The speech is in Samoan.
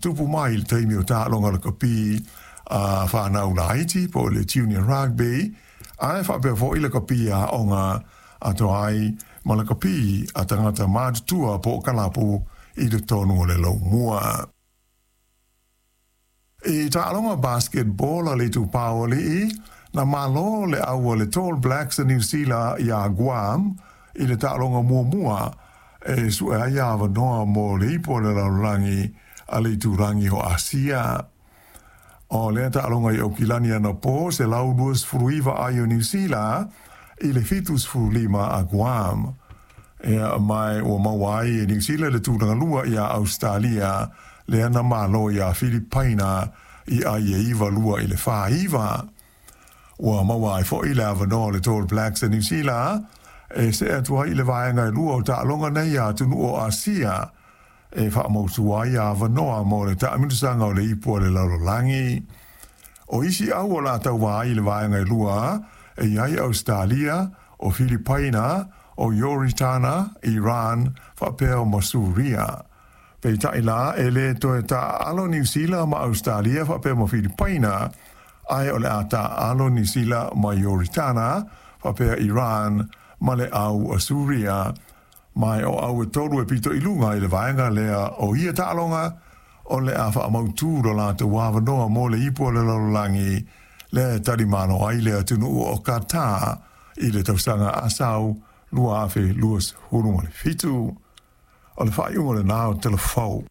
tutupu mai i le taimi o taaloga lakapi a fanau laiti po o le junior rugby, ae faapea foi lakapi a aoga atoa ai ma lakapi a tagata matutua po o kalapu i totonu o le laumua. I taaloga basketball a le Itupa o Alii, na malo le au a le Tall Blacks a Niu Sila iā Guam i le taaloga muamua e sue ai avanoa mo le Ipu o le Lalolagi a le Itulagi o Asia. O lea taaloga i Aukilani anapo, 129 ai o Niu Sila i le 75 a Guam. Ea ma ua maua ai e Niu Sila le tulaga lua iā Ausetalia, lea na malo iā Filipaina i ai e 9-2 i le 4-9. Ua maua ai foi le avanoa o le Tall Blacks a Niu Sila e see atu ai i le vaega e lua o taaloga nei a atunuu o Asia e faamautu ai avanoa mo le taamilosaga o le Ipu a le Lalolagi. O isi au o le a tauva ai i le vaega e lua e i ai Ausetalia, o Filipaina, o Ioritana, Iran, faapea ma Suria. Peitai la, e lē toe taaalo Niu Sila ma Ausetalia faapea ma Filipaina, ae o le a taaalo Niu Sila ma Ioritana faapea Iran ma le au a Suria. Ma o au e tolu e pito i luga i le vaega lea o ia taaloga, o le a faamautū lo latou avanoa mo le Ipu o le Lalolagi lea e talimalo ai le atunuu o Qatar i le tausaga asau 2027. O le faaiuga lenā o Tala Fou.